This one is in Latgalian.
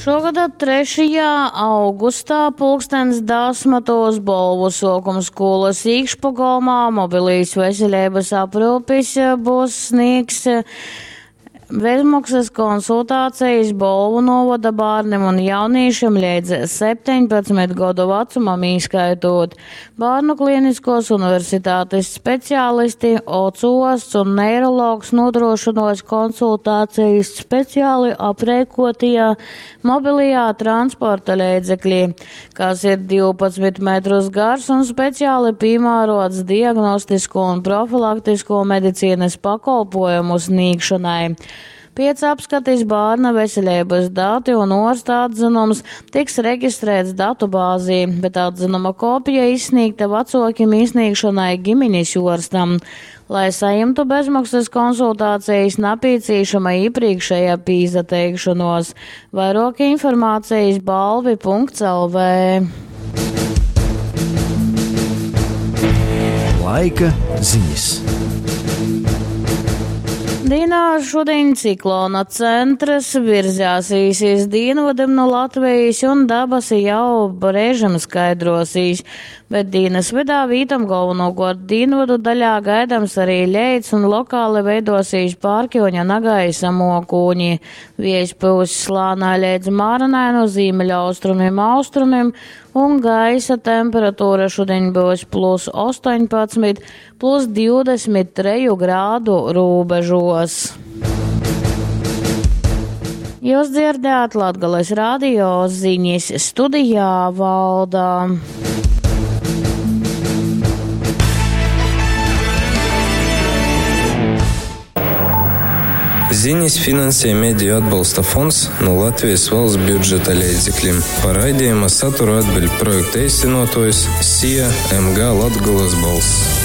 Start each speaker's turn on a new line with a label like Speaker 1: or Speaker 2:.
Speaker 1: Šogada 3. augustā pulkstens dasmatos Bolvu suokumskūlas īkšpogolmā mobilīs veselības aprūpis būs sniegs Bezmaksas konsultācijas Bolvu novada bērniem un jauniešiem līdz 17 godu vecumam īskaitot. Bērnu klīniskos universitātes speciālisti, ocosts un neirologs nodrošinos konsultācijas speciāli aprēkotajā mobilajā transporta līdzeklī, kas ir 12 metrus gars un speciāli piemērots diagnostisko un profilaktisko medicīnas pakolpojumu sniegšanai. Pēc apskates bērna veselības dati un orsta atzinums tiks reģistrēts datubāzī, bet atzinuma kopija izsniegta vecokim izsniegšanai ģimenes orstam. Lai saņemtu bezmaksas konsultācijas, nepieciešama iepriekšējā pīzateikšanos. Vairāk informācijas balvi.lv.
Speaker 2: Laika ziņas.
Speaker 1: Dīnā šodien ciklona centrs virzās īsīs dienvidam no Latvijas un dabasi jau brēžam skaidrosīs, bet dienas vidā vītam galvenokārt dienvidu daļā gaidams arī ļeits un lokāli veidosīs pārkjoņa nagaisa mokūņi. Viejs pūs slānā līdz māranai no zīmeļaustrumiem austrumiem un gaisa temperatūra šodien būs plus 18, plus 23 grādu robežos. Jūs dzirdējāt Latgales radio ziņas studijā valda.
Speaker 3: Ziņas finansē Mediju atbalsta fonds no Latvijas valsts budžeta līdzekļiem. Par raidījuma saturu atbild projekta īstenotājs SIA MG Latgulas balss.